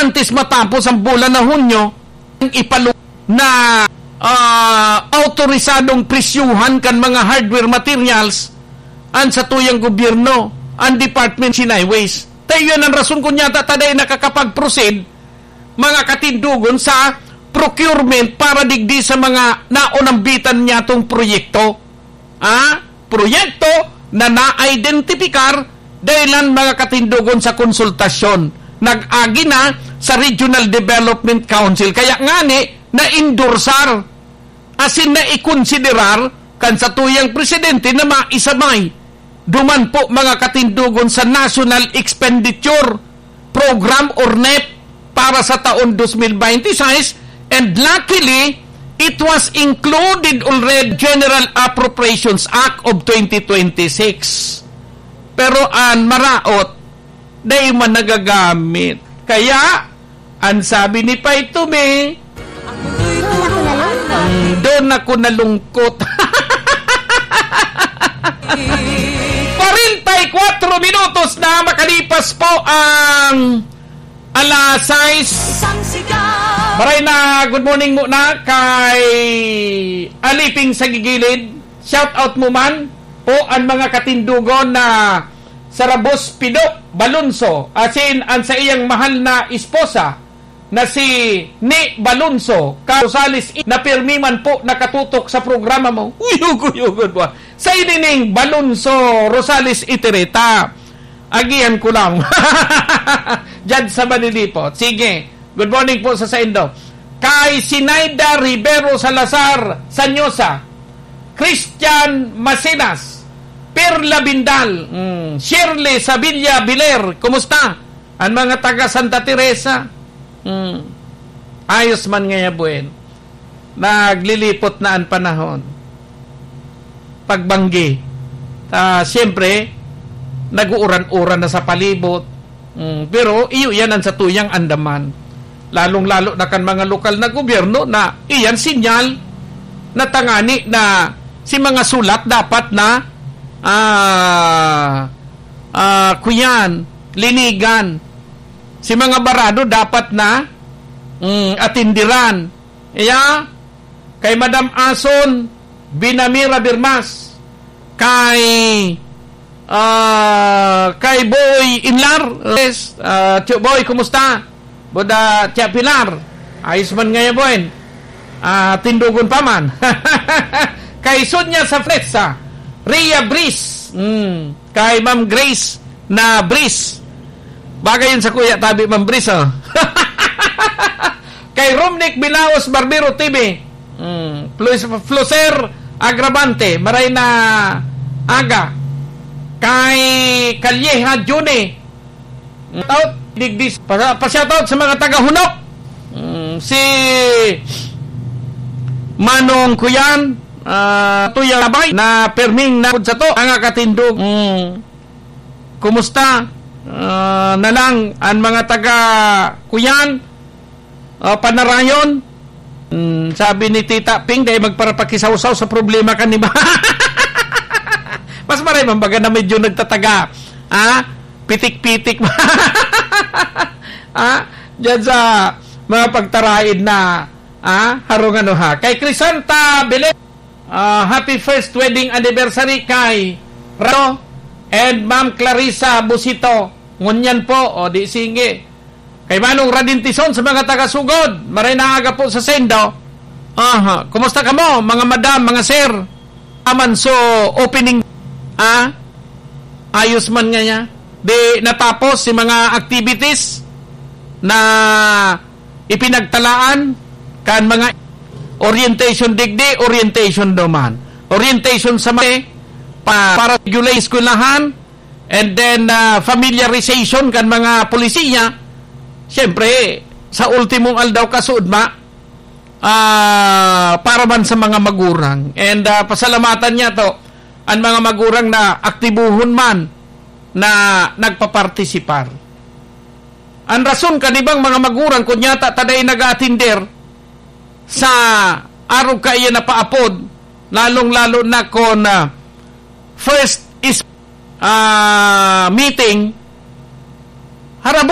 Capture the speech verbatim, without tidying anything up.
antes matapos ang bulan na Hunyo, ang ipalu-, na, ah, awtorisadong presyuhan kan mga hardware materials an satuyang gobyerno, ang Department of Highways. Tayo yan ang rason kung yata ta dai nakakapag-proceed, mga katindogon, sa procurement para digdi sa mga naunambitan niyatong proyekto. Ah, proyekto na na-identipikar dahilan, mga katindogon, sa konsultasyon. Nag-agi na sa Regional Development Council. Kaya ngani, na-endorsar, asin naikonsiderar kan satuyang presidente na maisabay. Duman po, mga katindogon, sa National Expenditure Program or nep para sa taon dos mil baynte sais, and luckily, it was included already General Appropriations Act of twenty twenty-six. Pero an maraot, dai man nagagamit. Kaya, an sabi ni Pay Tumi, "Doon ako nalungkot." Kwarenta y kwatro minutos na makalipas po ang alas sais. Maray na good morning muna kay Aliping sa Gigilid. Shout out mo man po ang mga katindogon na Sarabos Pido Balonso, asin an sa iyang mahal na esposa na si Ni Balonso, ka Rosales, na pirmi man po nakatutok sa programa mo. Uyog-uyogon mo. Sa inining Balonso Rosales Itereta. Agihan ko lang. Diyan sa Manilipot. Sige. Good morning po sa saindo. Kay Sinaida Rivero Salazar Sanyosa, Christian Macenas, Perla Bindal, mm, Shirley Sabilla Biler, kumusta? Ang mga taga Santa Teresa, mm, ayos man ngaya, buen. Naglilipot na ang panahon. Pagbanggi. Ah, siyempre, nag-uuran-uran na sa palibot. Mm, pero iyo yan ang satuyang andaman. Lalong-lalo na kan mga lokal na gobyerno na iyan sinyal na tangani na si mga sulat dapat na, ah, ah, kuyan, linigan. Si mga barado dapat na, mm, atindiran. Iya, kay Madam Ason Binamira Birmas, kay, ah, kay Boy Inlar, yes, ah, Tio Boy, kumusta? Boda, Tia Pilar, ayos man ngaya, Boy. Ah, tindogon pa man. Kay Sonia Safletsa, Ria Bris, mm, kay Ma'am Grace na Bris. Bagay yun sa kuya, tabi, Ma'am Bris, oh. Kay Romnick Bilaos Barbero T V. Mm. Flus-, Fluser Agravante, maray na aga. Kay Calleja Juni. Out, digdis, pa, pa-shoutout sa mga taga Hunok. Mm, si Manong Kuyan, ah, Tuyang Abay, na perming na sa to, ang katindog. Mm. Kumusta? Ah, na lang, ang mga taga Kuyan, ah, Panarayon. Hmm, sabi ni Tita Ping, "Dai magparapakisawsaw sa problema kan iba." Mas maray man baga na medyo nagtataga. Ah, pitik-pitik. Ah, diyan sa mga pagtaraid na, ah, harong ano ha. Kay Crisanta Belen, ah, happy first wedding anniversary kay Rado and Ma'am Clarissa Busito. Ngunyan po, o di sige. Kay Manong Radin Tison sa mga taga-Sugod, maray na aga po sa saindo. Aha, kumusta kamo, mga madam, mga sir? Aman so opening, ah? Ayos man ngaya. Di natapos si mga activities na ipinagtalaan kan mga orientation digdi, orientation duman. Orientation sa mga pa, para regular eskwelahan, and then, ah, familiarization kan mga polisiya. Siyempre, sa ultimong aldaw, kasuodma, ah, para man sa mga magurang. And, ah, pasalamatan niya to, ang mga magurang na aktibuhon man na nagpapartisipar. Ang rason kan ibang mga magurang, kun yata ta dai nag-aatinder sa arog kaiyan na paapod, lalong-lalo na kun, ah, first is, ah, meeting, harabo